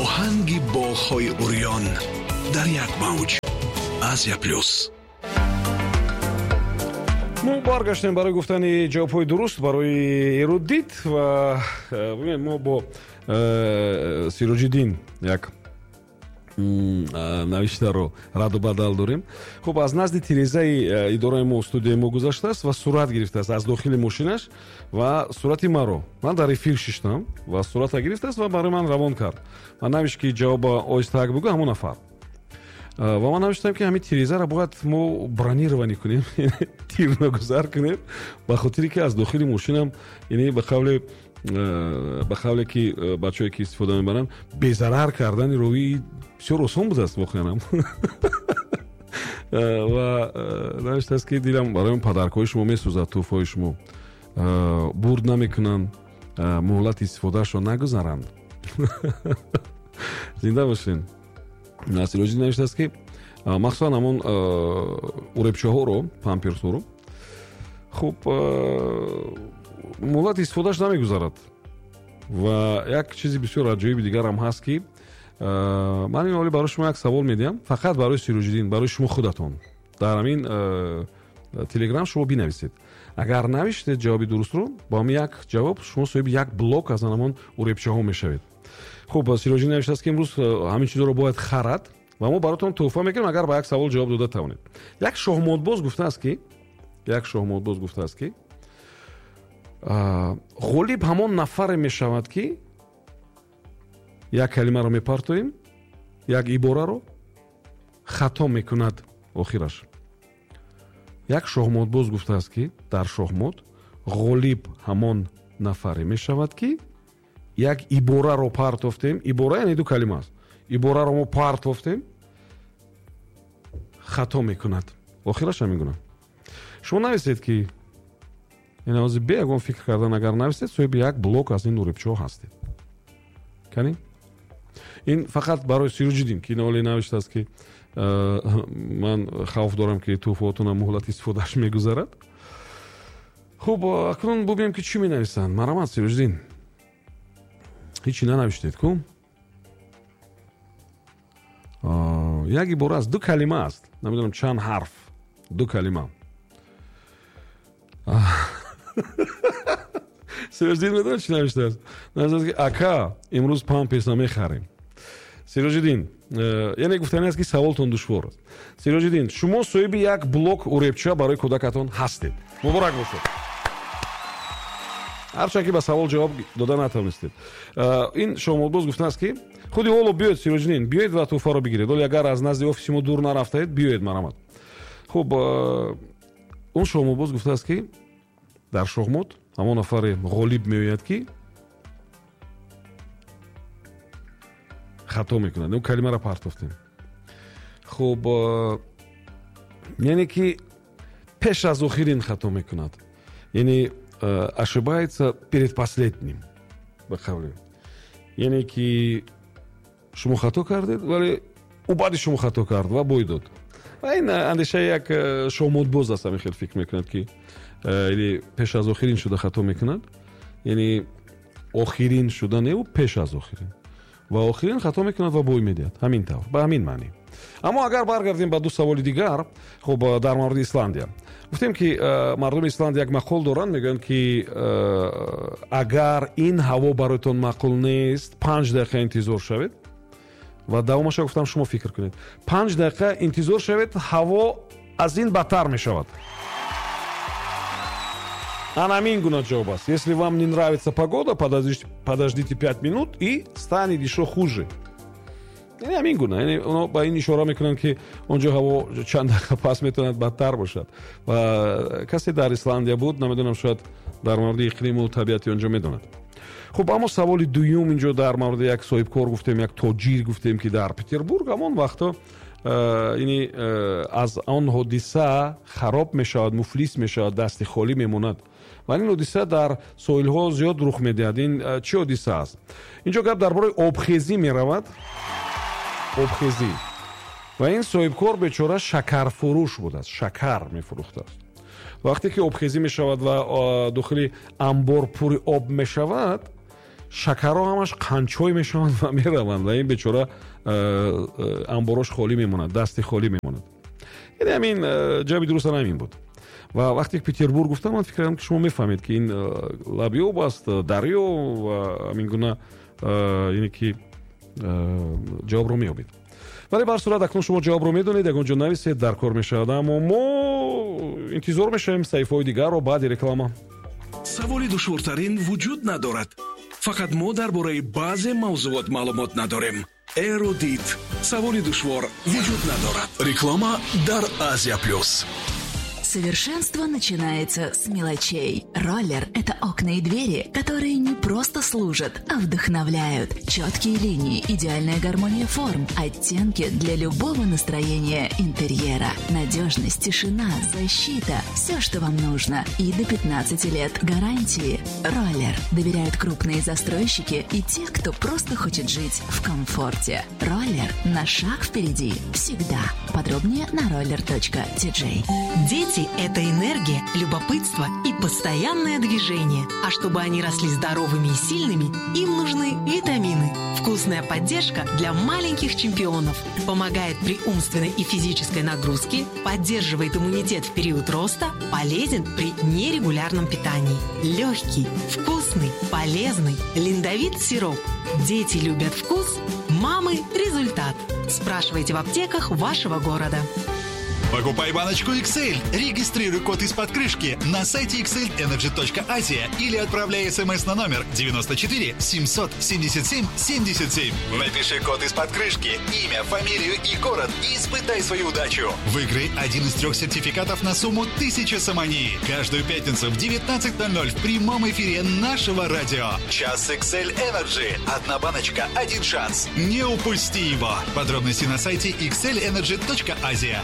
Оҳанги боғҳои урён дар як мавҷ. Азия Плюс. Мо баргаштем барои гуфтани ҷавобҳои дуруст барои эрудит ва бибинед, мо бо Сироҷиддин як навиштаро раду бадал дорем. Хуб, аз назди тирезаи идораи мо, студияи мо гузаштааст ва сурат гирифтааст аз дохили мошинаш ва сурати маро, ман дар эфир шиштам ва сурата гирифтааст ва барои ман равон кард. Ман навишт, ки ҷавоба оҳистаак бигӯ ҳамон нафар. Ва ман навиштам, ки ҳамин тирезаро бояд мо бронирование кунем, тирногузар кунем, ба хотире ки аз дохили мошинам, яъне ба қавле ки бачаҳое ки истифода мебаранд, безарар кардани ровӣ бисёр осон будааст воқеанам. Ва навиштааст, ки дилам барои подаркҳои шумо месӯзад, тӯҳфаҳои шумо бурд намекунанд, муҳлати истифодаашро нагузаранд. Зинда бошед. Сироҷиддин навиштааст, ки махсусан ҳамон уребчаҳоро, памперсҳоро, хуб, муҳлати истифодааш намегузарад. Ва як чизи бисёр аҷоиби дигарам ҳаст, ки ман ин ҳоли барои шумо як савол медиҳам, фақат барои Сироҷиддин, барои шумо худатон дар ҳамин Телеграм шумо бинависед. Агар навиштед ҷавоби дурустро, бо ҳамин як ҷавоб шумо соҳиби як блок аз ҳамон уребчаҳо мешавед. Хуб, Сироҷиддин навиштааст, ки имрӯз ҳамин чизҳоро бояд харад ва мо баротон тӯҳфа мекунем, агар ба як савол ҷавоб дода тавонед. Як шоҳмотбоз гуфтааст, ки ғолиб ҳамон нафаре мешавад, ки як калимаро мепартоем, як ибораро хато мекунад охираш. Як шоҳмотбоз гуфтааст, ки дар шоҳмот ғолиб ҳамон нафаре мешавад, ки як ибораро партофтем, ибора яъне ду калима аст, ибораро мо партофтем, хато мекунад охираш. Ҳамин гуна шумо нависед, ки яъне ҳозир бе ягон фикр кардан агар нависед, соҳиби як блок аз ин уребчаҳо ҳастед. Кани, ин фақат барои Сироҷиддин, ки ин оле навиштааст, ки ман хавф дорам, ки тӯҳфаотона муҳлати истифодааш мегузарад. Хуб, акнун бубинем, ки чӣ менависанд. Марҳамат, Сироҷиддин, ҳечи нанавиштед ку? Як ибора аст, ду калима аст, намедонам чанд ҳарф, ду калима. Сироҷиддин медонад, чӣ навиштааст? Навиштааст, ки ака, имрӯз памперс намехарем. Сироҷиддин, яъне гуфтани аст, ки саволтон душвор аст. Сироҷиддин, шумо соҳиби як блок уребча барои кӯдакатон ҳастед. Муборак бошед, ҳарчанд ки ба савол ҷавоб дода натавонистед. Ин шоҳмотбоз гуфтааст, ки худи ҳоло биёед, Сироҷиддин, биёед ва тӯҳфаро бигиред. Ҳоле агар аз назди офиси мо дур нарафтаед, биёед, марҳамат. Хуб, он шоҳмотбоз гуфтааст, ки дар шоҳмот ҳамон нафаре ғолиб меояд, ки хато мекунад. Он калимаро партофтем. Хуб, яъне ки пеш аз охирин хато мекунад, яъне ошибается перед последним, ба қавле, яъне ки шумо хато кардед, вале ӯ баъди шумо хато кард ва бой дод. Ва ин андешаи як шоҳмотбоз аст, ҳамин хел фикр мекунад, ки яъне пеш аз охирин шуда хато мекунад, яъне охирин шуда не, ӯ пеш аз охирин ва охирин хато мекунад ва бой медиҳад. Ҳамин тавр, ба ҳамин маънӣ. Аммо агар баргардем ба ду саволи дигар, хуб, дар мавриди Исландия гуфтем, ки мардуми Исландия як мақол доранд, мегӯянд, ки агар ин ҳаво бароятон маъқул нест, 5 дақиқа интизор шавед. Ва давомаша гуфтам, шумо фикр кунед. 5 дақиқа интизор шавед, ҳаво аз ин бадтар мешавад. Ана ҳамин гуна ҷавоб аст. Если вам не нравится погода, подождите 5 минут, и станет ещё хуже. Яъне ҳамин гуна, яъне оно ба ин ишора мекунанд, ки он ҷо ҳаво чанд дақиқа пас метавонад бадтар бошад. Ва касе дар Исландия буд, намедонам, шояд дар мавриди иқлиму табиати он ҷо медонад. Хуб, аммо саволи дуюм инҷо дар мавриди як соҳибкор гуфтем, як тоҷир гуфтем, ки дар Петербург ҳамон вақто яъне аз он ҳодиса хароб мешавад, муфлис мешавад, дасти холӣ мемонад. Ва ин ҳодиса дар соҳилҳо зиёд рух медиҳад. Ин чӣ ҳодиса аст? Инҷо гап дар бораи обхезӣ меравад, обхезӣ. Ва ин соҳибкор бечора шакарфурӯш будааст, шакар мефурӯхтааст. Вақте ки обхезӣ мешавад ва дохили амбор пури об мешавад, Шакарҳо ҳамаш қанчой мешаванд ва мераванд, ва ин бечора амборош холӣ мемонад, дасти холӣ мемонад. Яъне ҳамин ҷавоби дуруст ҳамин буд. Ва вақте Петербург гуфтам, ман фикр кардам, ки шумо мефаҳмед, ки ин лаби об аст, дарё ва ҳамин гуна, яъне ки ҷавобро меёбед. Вале ба ҳар сурат, акнун шумо ҷавобро медонед, ягон ҷо нависед, дар кор мешавад. Аммо мо интизор мешавем саҳифаҳои дигарро баъди реклама. Саволи душвортарин вуҷуд надорад, фақат мо дар бораи баъзе мавзуот маълумот надорем. Эрудит, саволи душвор вуҷуд надорад. Реклама дар Азия Плюс. Совершенство начинается с мелочей. Роллер – это окна и двери, которые не просто служат, а вдохновляют. Четкие линии, идеальная гармония форм, оттенки для любого настроения интерьера. Надежность, тишина, защита – все, что вам нужно. И до 15 лет гарантии. Роллер. Доверяют крупные застройщики и те, кто просто хочет жить в комфорте. Роллер на шаг впереди. Всегда. Подробнее на roller.tj. Дети – это энергия, любопытство и постоянное движение. А чтобы они росли здоровыми и сильными, им нужны витамины. Вкусная поддержка для маленьких чемпионов. Помогает при умственной и физической нагрузке, поддерживает иммунитет в период роста, полезен при нерегулярном питании. Легкий, вкусный, полезный. Линдовит сироп. Дети любят вкус, мамы – результат. Спрашивайте в аптеках вашего города. Покупай баночку XL, регистрируй код из-под крышки на сайте xlenergy.asia или отправляй смс на номер 94 777 77. Напиши код из-под крышки, имя, фамилию и город и испытай свою удачу. Выиграй один из трех сертификатов на сумму 1000 сомони. Каждую пятницу в 19:00 в прямом эфире нашего радио. Час XL Energy. Одна баночка, один шанс. Не упусти его. Подробности на сайте xlenergy.asia.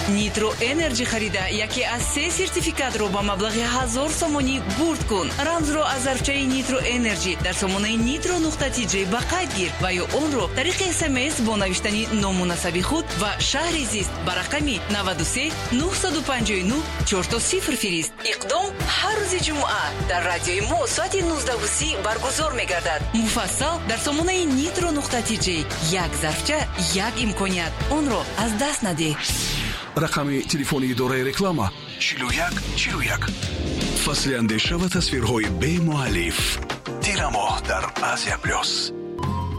Нитро Энерджи харида, яке аз се сертификатро ба маблағи 1000 сомонӣ бурд кун. Рамзро аз зарфчаи Нитро Энерджи дар сомонаи nitro.tj ба қайд гир ва ё онро тариқи СМС бо навиштани ному насаби худ ва шаҳри зист ба рақами 93 959 00 фирист. Иқдом ҳар рӯзи ҷумъа дар радиои мо соати 19:30 баргузор мегардад. Муфассал дар сомонаи nitro.tj. Як зарфча, як имконият, онро аз даст надеҳ. Рақами телефони идораи реклама: 41 41. Фасли андеша ва тасвирҳои бемуаллиф. Тирамоҳ дар Азия Плюс.